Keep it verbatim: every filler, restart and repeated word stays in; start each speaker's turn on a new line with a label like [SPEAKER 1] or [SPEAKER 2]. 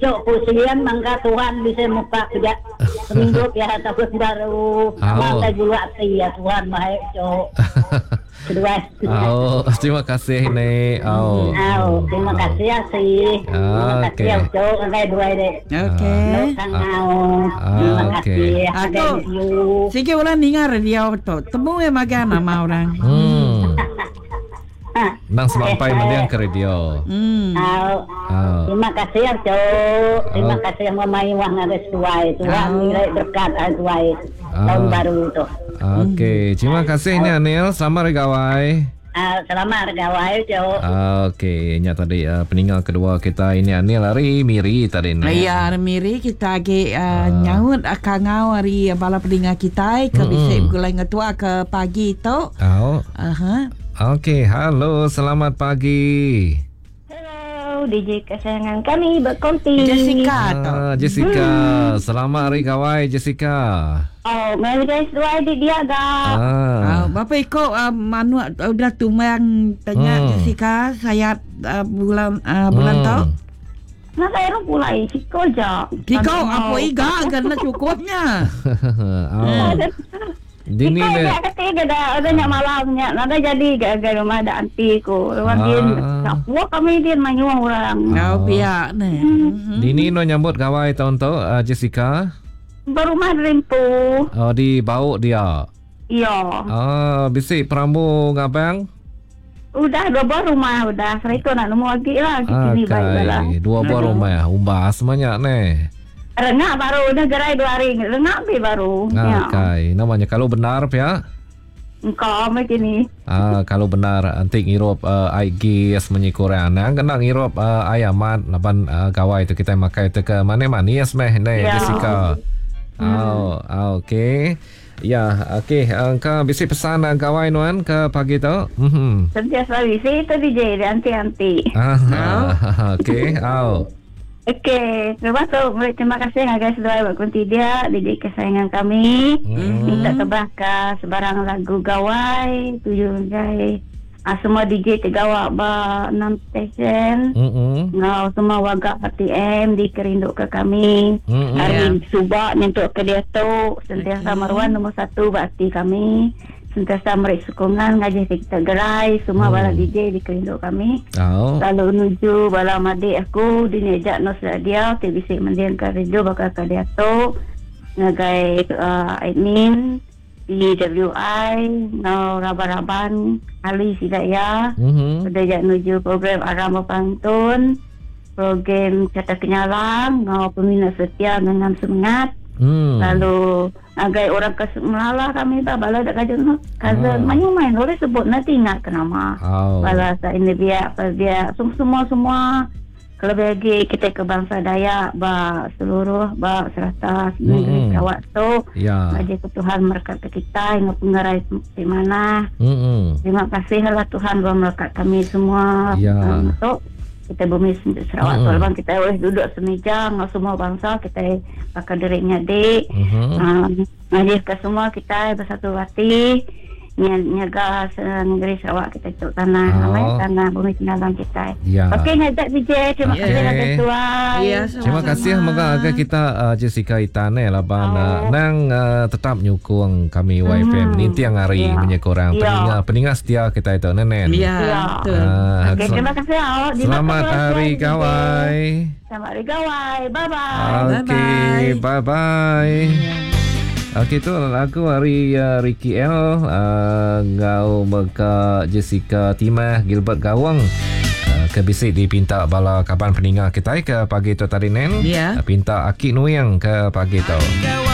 [SPEAKER 1] Ucok pusing mangga Tuhan bisa muka kerja seminggu ya tahun baru.
[SPEAKER 2] Oh.
[SPEAKER 1] Mata gulu hati ya Tuhan baik Ucok. Kedua.
[SPEAKER 2] Oh, terima kasih ni. Oh.
[SPEAKER 1] Oh, terima kasih ya sih. Terima kasih ya
[SPEAKER 2] Okey.
[SPEAKER 1] Ucok sampai dua deh.
[SPEAKER 3] Okey.
[SPEAKER 2] Ah,
[SPEAKER 1] Terima
[SPEAKER 2] okey.
[SPEAKER 1] kasih.
[SPEAKER 3] Aku
[SPEAKER 1] Thank you.
[SPEAKER 3] Sikit orang dengar radio tu. Temu yang makan nama orang.
[SPEAKER 2] Hmm.
[SPEAKER 1] Ah.
[SPEAKER 2] Nang semampai mendiang ke radio.
[SPEAKER 3] Hmm.
[SPEAKER 1] Oh.
[SPEAKER 2] Oh.
[SPEAKER 1] Terima kasih ya Cok. Terima
[SPEAKER 2] Oh.
[SPEAKER 1] kasih yang memai wang ada sesuai. Tuhan
[SPEAKER 3] Oh.
[SPEAKER 1] nilai berkat ada sesuai. Tahun
[SPEAKER 2] Ah.
[SPEAKER 1] baru tu.
[SPEAKER 2] Okey, terima kasih ni Anil. Selamat hari gawai.
[SPEAKER 1] Ah, selamat hari gawai Cok.
[SPEAKER 2] Okey, nya tadi uh, peninggal kedua kita ini Anil hari Miri tadi ni.
[SPEAKER 3] Ya, hari Miri kita agi uh, nyaut kangau hari bala pendengar kita ke
[SPEAKER 2] Mm-mm.
[SPEAKER 3] bisik gulai ngetua ke pagi tu.
[SPEAKER 2] Oh.
[SPEAKER 3] Aha.
[SPEAKER 2] Okey, halo, selamat pagi.
[SPEAKER 4] Hello, D J kesayangan kami berkonti.
[SPEAKER 3] Jessica tu.
[SPEAKER 2] Ah, Jessica, selamat hari gawai Jessica.
[SPEAKER 4] Oh, mari guys, dua adik dia agak.
[SPEAKER 2] Ah.
[SPEAKER 3] Ah, bapa ikut uh, manuk uh, udah tumbang tanya
[SPEAKER 2] Hmm.
[SPEAKER 3] Jessica saya uh, bulan uh, bulan
[SPEAKER 2] Hmm.
[SPEAKER 3] tu.
[SPEAKER 4] Nah, saya orang pulai, Ciko je.
[SPEAKER 3] Kiko apa iga kena cukupnya.
[SPEAKER 2] Oh. Dini
[SPEAKER 4] Ciko
[SPEAKER 2] le.
[SPEAKER 4] dia kata dia dah ada nyak malamnya, nada jadi gak rumah ada anti ko. Rumah
[SPEAKER 2] Ah.
[SPEAKER 4] dia, kapua kami dia manyuang orang.
[SPEAKER 3] Kau pihak ni.
[SPEAKER 2] Oh. Dini no nyambut gawai tahun tu uh, Jessica.
[SPEAKER 4] Berumah rimpu.
[SPEAKER 2] Oh, di bau dia.
[SPEAKER 4] Iya.
[SPEAKER 2] Ah, bisik perambu ngabang.
[SPEAKER 4] Udah dua buah rumah udah. Seriko nak nemu lagi lah. Sini baik lah.
[SPEAKER 2] Akai, dua buah rumah umbas banyak ni.
[SPEAKER 4] Rengak baru udah gerai dua hari. Rengak bi baru. Ya.
[SPEAKER 2] Akai, namanya kalau benar pia.
[SPEAKER 4] Engkau macam ni.
[SPEAKER 2] Ah, kalau benar antik ngirup uh, I G semenyi kurang. Nang kena ngirup uh, ayamat laban uh, gawai tu kita makai tu ke mana-mana meh ni
[SPEAKER 4] Ya.
[SPEAKER 2] Jessica. Oh, ah, okey. Ya, okey. Engkau bisi pesan uh, gawai nuan ke pagi tu? Mhm.
[SPEAKER 4] Sentiasa bisi itu D J dia anti-anti.
[SPEAKER 2] Ah, okey. Au.
[SPEAKER 4] Okey, terima kasih. Terima kasih guys sudah berkunti dia D J kesayangan kami.
[SPEAKER 2] Hmm.
[SPEAKER 4] Minta terbakar sebarang lagu gawai tujuh guys. Ah, semua D J tergawak ba enam station.
[SPEAKER 2] Mhm.
[SPEAKER 4] Ngau semua warga P T M dikerinduk ke kami.
[SPEAKER 2] Mm-mm.
[SPEAKER 4] Hari subak nyentuk ke dia tu sentiasa maruan nombor satu bakti kami. Sentiasa meri sokongan ngaji kita gerai semua
[SPEAKER 2] Hmm.
[SPEAKER 4] bala D J dikerinduk kami.
[SPEAKER 2] Au.
[SPEAKER 4] Lalu menuju bala madik aku di nejak nos dia T B C mendiang ke radio bakal ke dia tu ngagai uh, admin P W I ngau raban-raban ahli sidaya
[SPEAKER 2] Mhm.
[SPEAKER 4] sudah jak menuju program Aram Berpantun program Kata Kenyalang ngau peminat setia dengan semangat
[SPEAKER 2] Hmm.
[SPEAKER 4] Lalu agai orang ke melala kami tak bala dak kajen cousin
[SPEAKER 2] Ah.
[SPEAKER 4] main main boleh sebut nanti ingat ke nama.
[SPEAKER 2] Au.
[SPEAKER 4] Bala sa ini biak apa biak semua semua semua kalau bagi kita ke bangsa Dayak ba seluruh ba serata negeri
[SPEAKER 2] Mm-mm.
[SPEAKER 4] Sarawak tu
[SPEAKER 2] Ya.
[SPEAKER 4] bagi ke Tuhan berkat ke kita hingga pengerai di mana.
[SPEAKER 2] Mhm.
[SPEAKER 4] Terima kasih lah Tuhan berkat kami semua.
[SPEAKER 2] Ya.
[SPEAKER 4] Um, tu kita bumi Sarawak
[SPEAKER 2] Mm-mm.
[SPEAKER 4] tu bang kita boleh duduk semeja dengan semua bangsa kita pakai dirinya dik.
[SPEAKER 2] Mhm.
[SPEAKER 4] Um, ngajih ke semua kita bersatu hati nyaga negeri Sarawak kita tu tanah
[SPEAKER 2] Oh.
[SPEAKER 4] oh. tanah bumi kenalan kita.
[SPEAKER 2] Ya.
[SPEAKER 4] Okey ngajak B J terima
[SPEAKER 2] Okey.
[SPEAKER 4] kasih lagi tuan.
[SPEAKER 3] Ya,
[SPEAKER 2] Terima kasih moga agak kita uh, Jessica Itane laban uh, nang uh, tetap nyukung kami Y F M
[SPEAKER 4] Hmm.
[SPEAKER 2] ni tiang hari
[SPEAKER 4] Ya.
[SPEAKER 2] punya korang
[SPEAKER 4] Ya.
[SPEAKER 2] peninga peninga setia kita itu nenen.
[SPEAKER 3] Ya,
[SPEAKER 4] Ya.
[SPEAKER 3] betul.
[SPEAKER 2] Ah,
[SPEAKER 4] Okey
[SPEAKER 2] sel-
[SPEAKER 4] terima kasih awak. Di
[SPEAKER 2] Selamat
[SPEAKER 4] mata
[SPEAKER 2] hari
[SPEAKER 4] tuan, D J.
[SPEAKER 2] gawai.
[SPEAKER 4] Selamat hari gawai. Bye bye.
[SPEAKER 2] Okey, bye bye. Okey tu lagu hari uh, Ricky L uh, ngau mega Jessica Timah Gilbert Gawang uh, ke bisik dipinta bala kaban peninga kita ke pagi tu tadi nen.
[SPEAKER 3] Ya.
[SPEAKER 2] Uh, pinta Aki Nuyang ke pagi tu.
[SPEAKER 5] Gawai.